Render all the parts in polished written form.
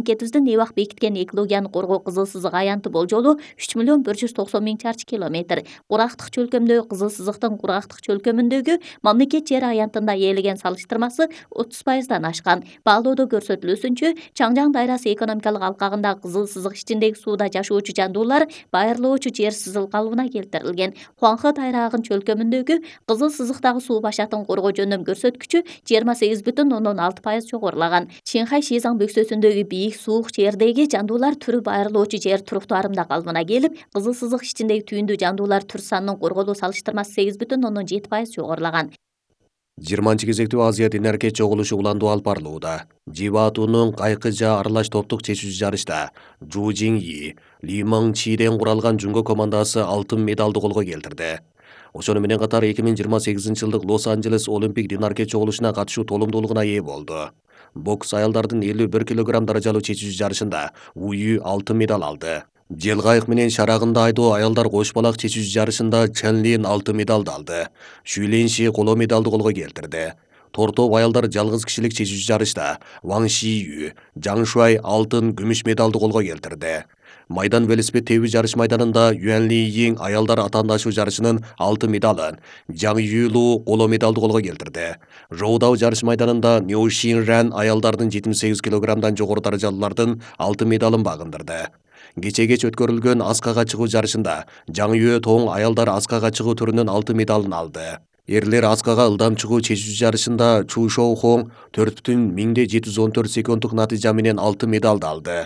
Мамлекетибиздин эбак бекиткен экологияны коргоо кызыл сызык аянты болжолу 3.190.000 чарчы километр. Кургактык чөлкөмдөгү кызыл сызыктын кургактык чөлкөмүндөгү мамлекет жери аянтында ээлеген салыштырмасы 30%дан ашкан. Баалоодо көрсөтүлүүсүнчө, Чаңжаң дайрасы экономикалык алкагындагы кызыл сызык ичиндеги сууда жашоочу жандуулар байырлоочу жер сызыл калыбына келтирилген. Хуанхэ тайрагынын чөлкөмүндөгү кызыл сызыктагы суу башатын коргоо жөнүндө көрсөткүчү 28,6% жогорулаган. Чинхай Шизаң бөксөсүндөгү бийик суук жердеги жандуулар түрү байырлоочу жер туруктуу арымда калыбына келип, кызыл сызык ичиндеги түйүндүү жандуулар түр санынын корголуу салыштырмасы 8,7% жогорулаган. 20-кезектүү Азия Динерке чогулушу уландуу алып барылууда. Жибаатунун кайкыжа аралаш топтук чечүүчү жарышта Жу Жиңи, Ли Маң Чиден куралган жунго командасы алтын медалды колго келтирди. Ошону менен катар 2028-жылдык Лос-Анджелес Олимпик Динерке чогулушуна катышуу толумдуулугуна ээ болду. Бокс аялдардын 51 кг даражалуу чечүүчү жарышында Уюй алтын медаль алды. Желгайык менен шарагында айдоо аялдар кош балак чечүүчү жарышында Чэнлин алтын медалды алды. Шүйлинши коло медалды колго келтирди. Тортоп аялдар жалгыз кишилик чечүүчү жарышта Ваң Шию, Жаң Шуай алтын, күмүш медалды колго келтирди. Майдан велосипед тебүү жарыш майданында Юан Ли Йиң аялдар атаандашуу жарышынын алтын медалын, Жаң Юлу коло медалды колго келтирди. Жоудау жарыш майданында Нью Шин Ран аялдардын 78 кг жогору даражалуулардын алтын медалын багындырды. Кеч өткөрүлгөн аскага чыгуу жарышында Жаң Юэ Тоң аялдар аскага чыгуу түрүнүн алтын медалын алды. Эрлер аскага ылдам чыгуу чечүүчү жарышында Чу Шоу Хоң 4,714 секунддук натыйжа менен алтын медалды алды.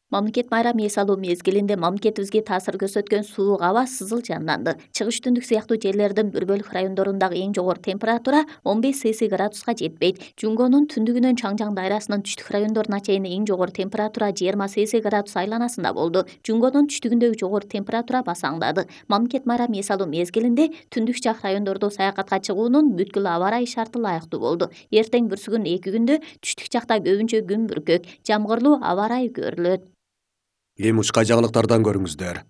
Мамлекет майрам эс алуу мезгилинде мамлекетибизге таасир көрсөткөн суук аба сызыл жанданды. Чыгыш түндүк сыяктуу жерлердин бир бөлүк райондорундагы эң жогору температура 15 Цельсий градуска жетпейт. Жунгонун түндүгүнөн Чаңжаң дайрасынын түштүк райондоруна чейин эң жогору температура 20 Цельсий градус айланасында болду. Жунгонун түштүгүндөгү жогору температура басаңдады. Мамлекет майрам эс алуу мезгилинде түндүк жак райондордо саякатка чыгуунун бүткүл аба ырайы шарты ылайыктуу болду. Эртең бүрсүгүн 2 күндө түштүк жакта көбүнчө күн бүркөк, жамгырлуу аба ырайы көрүлөт. Эми ушка жаңылыктардан көрүңүздөр.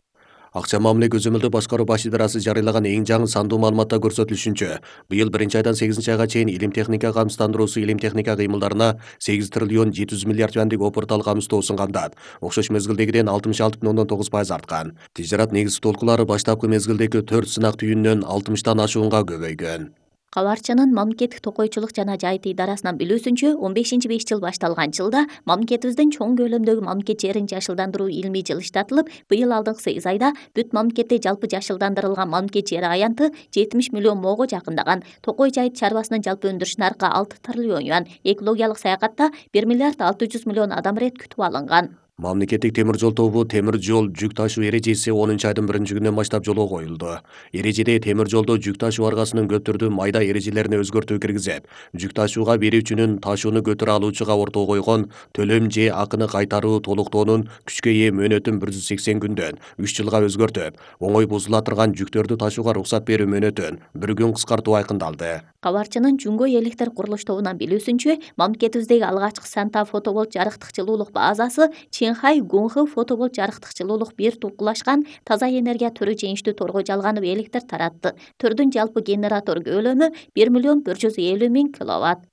Акча мамиле көзөмөлдөө башкаруу баш идарасы жарыялаган эң жаңы сандуу маалыматта көрсөтүлүшүнчө, быйыл 1-айдан 8-айга чейин илим техника камсыздандыруусу илим техника кыймылдарына 8 триллион 700 миллиард юандык опыртал камсыздоо сунгандан окшош мезгилдегиден 66,9% арткан. Тижарат негизги толкулары баштапкы мезгилдеги 4 сынак түйүнүнөн 60тан ашуунга көбөйгөн. Кабарчынын мамлекеттик токойчулук жана жайыт идарасынан билүүсүнчө, 15-5 башталган жылда мамлекетибиздин чоң көлөмдөгү мамлекет жерин жашылдандыруу илмий жылы иштатылып, быйыл алдыңкы 8 айда бүт мамлекетте жалпы жашылдандырылган мамлекет жери аянты 70 миллион моого жакындаган. Токой жайыт чарбасынын жалпы өндүрүш наркы 6 триллион юан. Экологиялык саякатта 1 миллиард 600 миллион адам ирет күтүп алынган. Мамлекеттик темир жол тобу темир жол жүк ташуу эрежеси 10-айдын 1-күнүнөн баштап жолго коюлду. Эрежеде темир жолдо жүк ташуу аргасынын көп түрдүү майда эрежелерине өзгөртүү киргизип, жүк ташууга берүүчүнүн ташууну көтөрө алуучуга ортого койгон төлөм же акыны кайтаруу толуктоонун күчкө ээ мөөнөтүн 180 күндөн 3 жылга өзгөртүп, оңой бузула турган жүктөрдү ташууга уруксат берүү мөөнөтүн 1 күн кыскартуу айкындалды. Кабарчынын Жунго электр курулуш тобунан билүүсүнчө, мамлекетибиздеги алгачкы Санта фотоболт жарыктык жылуулук базасы Чинхай Гунхэ фотоболт жарыктык жылуулук бир тулкулашкан таза энергия түрү жеңиштүү торго жалганып электр таратты. Түрдүн жалпы генератор көлөмү 1,150,000 киловатт.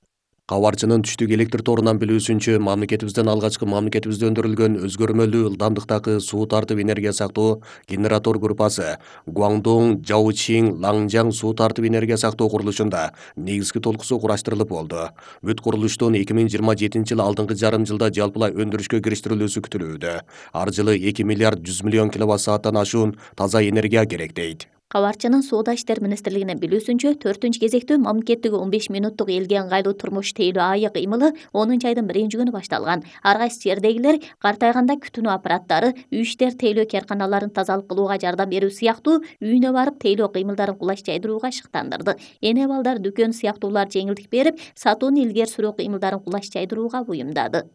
Кабарчынын түштүк электр торунан билүүсүнчө, мамлекетибизде өндүрүлгөн өзгөрмөлүү ылдамдыктагы суу тартып энергия сактоо генератор группасы Гуаңдоң, Жаочиң, Лаңжаң суу тартып энергия сактоо курулушунда негизги толкусу кураштырылып болду. Бүт курулуштун 2027-жылы алдыңкы жарым жылда жалпылай өндүрүшкө кириштирилүүсү күтүлүүдө. Ар жылы 2 миллиард 100 миллион киловатт сааттан ашуун таза энергия керек дейт. Кабарчынын Соода иштер министрлигинин билүүсүнчө, 4-кезектүү мамлекеттиги 15 минуттук элге ыңгайлуу турмуш тейлөө айык кыймылы 10-айдын 1-күнү башталган. Ар кайсы жердегилер картайганда күтүнүү аппараттары, үй иштер тейлөө керканаларын тазалык кылууга жардам берүү сыяктуу үйүнө барып тейлөө кыймылдарын кулаш жайдырууга шыктандырды. Эне балдар дүкөн сыяктуулар жеңилдик берип, сатууну илгери сүрүү кыймылдарын кулаш жайдырууга буюмдады.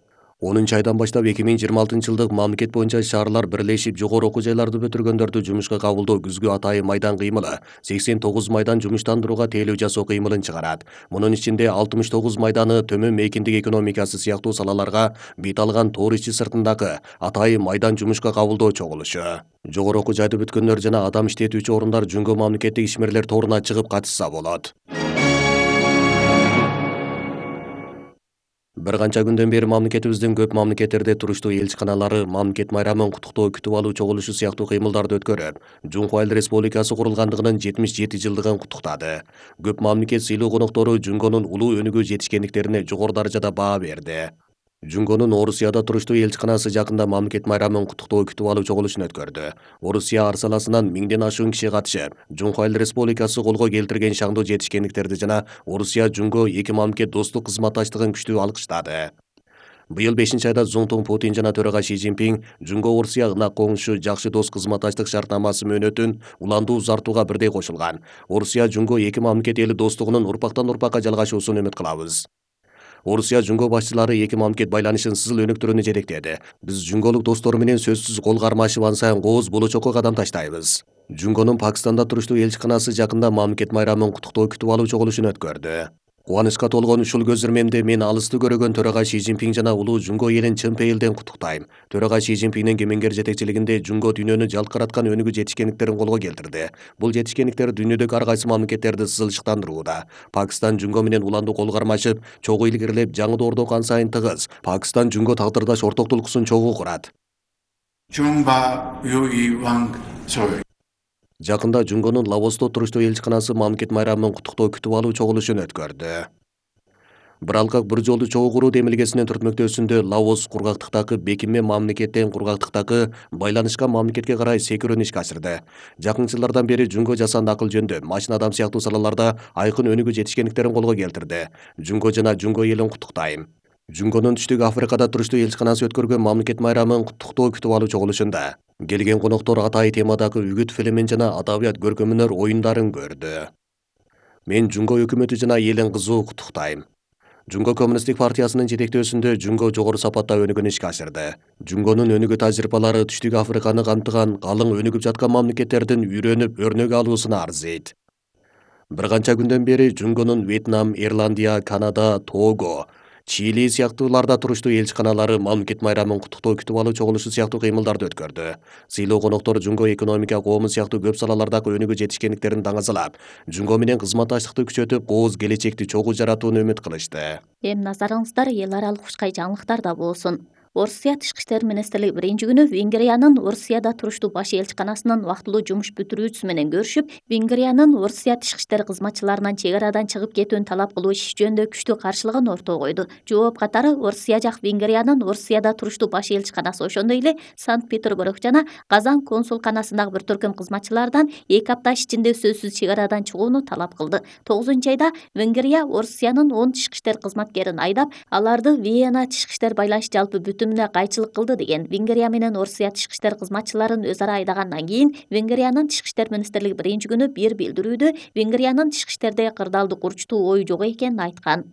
10-айдан баштап 2026-жылдык мамлекет боюнча шаарлар бирлешип жогору окуу жайларды бүтүргөндөрдү жумушка кабылдоо күзгү атайын майдан кыймылы 89 майдан жумуштандырууга тейлөө жасоо кыймылын чыгарат. Мунун ичинде 69 майданы төмөн мейкиндик экономикасы сыяктуу салаларга бет алган тоор ичи сыртындагы атайын майдан жумушка кабылдоо чогулушу. Жогору окуу жайды бүткөндөр жана адам иштетүүчү орундар Жунго мамлекеттик ишмерлер торуна чыгып катышса болот. Bir канча күндөн бери мамлекетибиздин көп мамлекеттерде туруштуу элчиканалары мамлекет майрамын куттуктоо күтүп алуу чогулушу сыяктуу кыймылдарды өткөрүп, Жунго Айыл Республикасы курулгандыгынын 77 жылдыгын куттуктады. Көп мамлекет сыйлуу коноктору Жунгонун улуу өнүгүү жетишкендиктерине жогору даражада баа берди. Жунгонун Орусияда туруштуу элчиканасы жакында мамлекет майрамын куттуктоо күтүп алуу чогулушун өткөрдү. Орусия арсаласынан 1000ден ашуун киши катышып, Жунго Айыл Республикасы колго келтирген шаңдуу жетишкендиктерди жана Орусия Жунго эки мамлекет достук кызматташтыгын күчтүү алкыштады. Быйыл 5-айда Цзуңтун Путин жана төрага Ши Цзиньпин Жунго Орусия ынак коңшу жакшы дос кызматташтык шартнамасы мөөнөтүн уланду узартууга бирдей кошулган. Орусия Жунго эки мамлекет эли достугунун урпактан урпакка жалгашуусун үмүт кылабыз. Орусия Жунго башчылары эки мамлекет байланышын сызыл өнүктүрүүнү жетектеди. Биз жунголук достор менен сөзсүз кол кармашып ансайын кооз болочокко кадам таштайбыз. Жунгонун Пакистанда туруштуу элчиканасы жакында мамлекет майрамын куттуктоо күтүп алуу чогулушун өткөрдү. Кубанычка толгон ушул көзөрмемде мен алысты көрөгөн төрага Ши Цзиньпин жана улуу Жунго элин чын пейилден куттуктайм. Төрага Ши Цзиньпиндин кемеңгер жетекчилигинде Жунго дүйнөнү жалкыраткан өнүгүү жетишкендиктерин колго келтирди. Бул жетишкендиктер дүйнөдөгү ар кайсы мамлекеттерди сызылчыктандырууда. Пакистан Жунго менен уланду кол кармашып, чогуу илгерилеп, жаңы доордо ансайын тыгыз. Пакистан Жунго тагдырдаш орток тулкуусун чогуу курат. Жакында Жунгонун Лаосто туруштуу элчиканасы мамлекет майрамын куттуктоо күтүп алуу чогулушун өткөрдү. Bir алкак bir жолду чогуу куруу демилгесинин түртмөктөөсүндө Лаос кургактыктагы бекинме мамлекеттен кургактыктагы байланышкан мамлекетке карай секирүүнү ишке ашырды. Жакын жылдардан бери Жунго жасанды акыл жөндө, машина адам сыяктуу салаларда айкын өнүгүү жетишкендиктерин колго келтирди. Жунго жана Жунго элин куттуктайм. Жунгонун Түштүк Африкада туруштуу элчиканасы өткөргөн мамлекет майрамын куттуктоо күтүп алуу чогулушунда келген коноктор атайы темадагы үгүт фильмин жана адабият көркөмөнөр оюндарын көрдү. Мен Жунго өкмөтү жана элин кызуу куттуктайм. Жунго Коммунисттик партиясынын жетектөөсүндө Жунго жогору сапатта өнүгүүнү ишке ашырды. Жунгонун өнүгүү тажрыйбалары Түштүк Африканы камтыган калың өнүгүп жаткан мамлекеттердин үйрөнүп өрнөк алуусуна арзыйт. Bir канча күндөн бери Жунгонун Вьетнам, Ирландия, Канада, Того, Чили сыяктууларда туруштуу элчиканалары мамлекет майрамын куттуктоо күтүп алуу чогулушу сыяктуу кыймылдарды өткөрдү. Сыйлуу коноктор Жунго экономика, коому сыяктуу көп салалардагы өнүгүү жетишкендиктерин даңазалап, Жунго менен кызматташтыкты күчөтүп, кооз келечекти чогуу жаратууну үмүт кылышты. Эми назарыңыздар эл аралык ушкай жаңылыктарда болсун. Орусия Тышкы иштер министрлиги биринчи күнү Венгриянын Орусияда туруштуу баш элчиканасынын вактылуу жумуш бүтүрүүчүсү менен көрүшүп, Венгриянын Орусия тышкы иштер кызматчыларынан чек арадан чыгып кетүүнү талап кылуу иши жөнүндө күчтүү каршылыгын ортого койду. Жооп катары Орусия жак Венгриянын Орусияда туруштуу баш элчиканасы, ошондой эле Санкт-Петербург жана Казан консулканасындагы бир төркүм кызматчылардан 2 апта ичинде сөзсүз чек арадан чыгууну талап кылды. 9-айда Венгрия Орусиянын 10 тышкы иштер кызматкерин айдап, аларды Вена тышкы иштер байланыш жалпы бүтүнүнө кайчылык кылды деген. Венгрия менен Орусия тышкы иштер кызматчыларын өз ара айдагандан кийин Венгриянын Тышкы иштер министрлиги биринчи күнү бир билдирүүдө Венгриянын тышкы иштерде кырдаалдык урчтуу ою жок экенин айткан.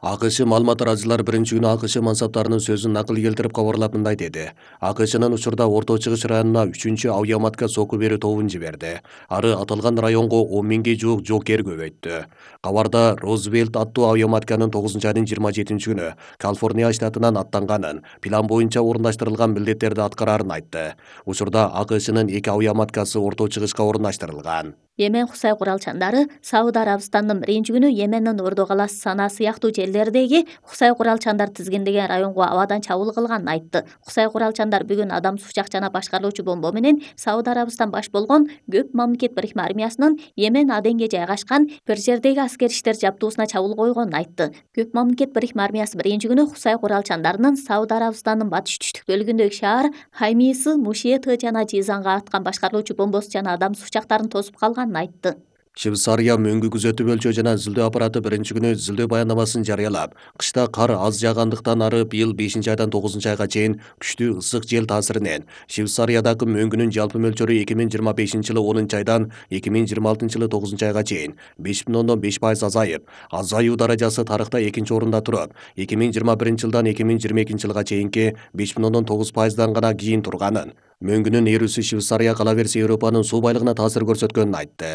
АКШ маалымат тараачылар биринчи күнү АКШ мансаптарынын сөзүн накыл келтирип кабарлап мындай деди. АКШнын учурда Орто Чыгыш районуна 3-чү авиаматка сокку берүү тобун жиберди. Ары аталган районго 10 миңге жуук жоокер көбөйттү. Кабарда Розвельт аттуу авиаматканын 9-айдын 27-күнү Калифорния штатынан аттанганын, план боюнча орундаштырылган милдеттерди аткарарын айтты. Учурда АКШнын 2 авиаматкасы Орто Чыгышка орундаштырылган. Йемен Хусай куралчандары Сауд Арабистандын биринчи күнү Йемендин Ордо калаасы Сана сыяктуу жерлердеги Хусай куралчандар тизгиндеген районго абадан чабуул кылганын айтты. Хусай куралчандар бүгүн адам сушак жана башкарылуучу бомба менен Сауд Арабистан баш болгон көп мамлекет бирикме армиясынын Йемен Аденге жайгашкан бир жердеги аскер иштер жабдуусуна чабуул койгонун айтты. Көп мамлекет бирикме армиясы биринчи күнү Хусай куралчандарынын Сауд Арабистандын батыш түштүк бөлүгүндөгү шаар Хаймисы, Мушеты жана Жизанга аткан башкарылуучу бомбосу жана адам сушактарын тосуп калганын айтты. Швейцария мөңгү күзөтүү бөлчө жана изилдөө аппараты биринчи күнү изилдөө баяндамасын жарыялап, кышта кар аз жаагандыктан ары быйыл 5-айдан 9-айга чейин күчтүү ысык жел таасиринен Швейцариядагы мөңгүнүн жалпы мөлчөрү 2025-жылы 10-айдан 2026-жылы 9-айга чейин 5,5% азайып, азаюу даражасы тарыхта 2-нчи орунда туруп, 2021-жылдан 2022-жылга чейинки 5,9%дан гана кийин турганын, мөңгүнүн эрүүсү Швейцария кала берсе Европанын суу байлыгына таасир көрсөткөнүн айтты.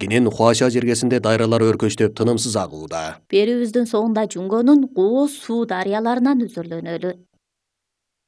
Кенен Хуаша жергесинде дайралар өркөчтөп тынымсыз агууда. Берүүбүздүн соңунда Жунгонун Гоо суу дарыяларынан үзүрлөнөлү.